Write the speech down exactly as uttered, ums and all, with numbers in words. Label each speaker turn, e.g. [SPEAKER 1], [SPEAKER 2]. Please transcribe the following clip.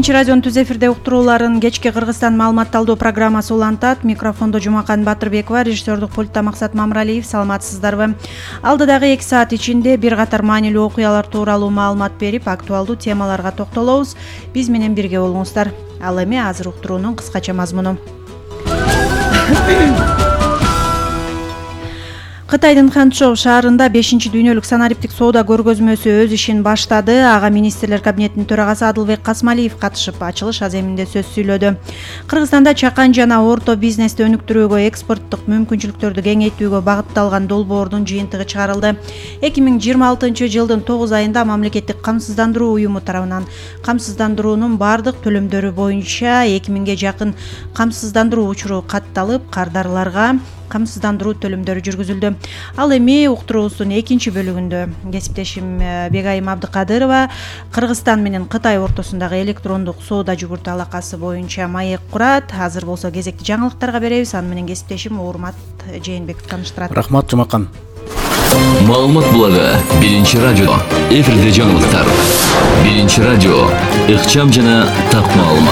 [SPEAKER 1] Биринчи радионун түз эфирде уктурууларын кечки Кыргызстан маалыматталдоо программасы улантат. Микрофондо Жумакан Батырбекова, режиссердук пультта Максат Мамралиев. Саламатсыздарбы? Алдыдагы эки саат ичинде бир катар маанилүү окуялар тууралуу маалымат берип, актуалдуу темаларга токтолобуз. Биз менен бирге болуңуздар. Ал эми азыр уктуруунун кыскача мазмуну. Кытайдын Ханчжоу шаарында бешинчи дүйнөлүк санариптик соода көргөзмөсү өз ишин баштады. Ага министрлер кабинетинин төрагасы Адылбек Касмалиев катышып, ачылыш аземинде сөз сүйлөдү. Кыргызстанда чакан жана орто бизнести өнүктүрүүгө, экспорттук мүмкүнчүлүктөрдү кеңейтүүгө багытталган долбоордун жыйынтыгы чыгарылды. эки миң жыйырма алтынчы жылдын тогуз айында мамлекеттик камсыздандыруу уюму тарабынан камсыздандыруунун бардык төлөмдөрү боюнча эки миңге жакын камсыздандыруу учуру катталып, кардарларга камсыздандыруу төлөмдөрү жүргүзүлдү. Ал эми уктуруубуздун экинчи бөлүгүндө кесиптешим Бегайым Абдыкадырова Кыргызстан менен Кытай ортосундагы электрондук соода жүгүртү алакасы боюнча маек курат. Азыр болсо кезекти жаңылыктарга беребиз. Аны менен кесиптешим Урмат Жээнбеков тааныштырат.
[SPEAKER 2] Рахмат, Жумакан.
[SPEAKER 3] Маалымат булагы Биринчи радио. Эфирде жаңылыктар. Биринчи радио. Ыкчам жана так маалымат.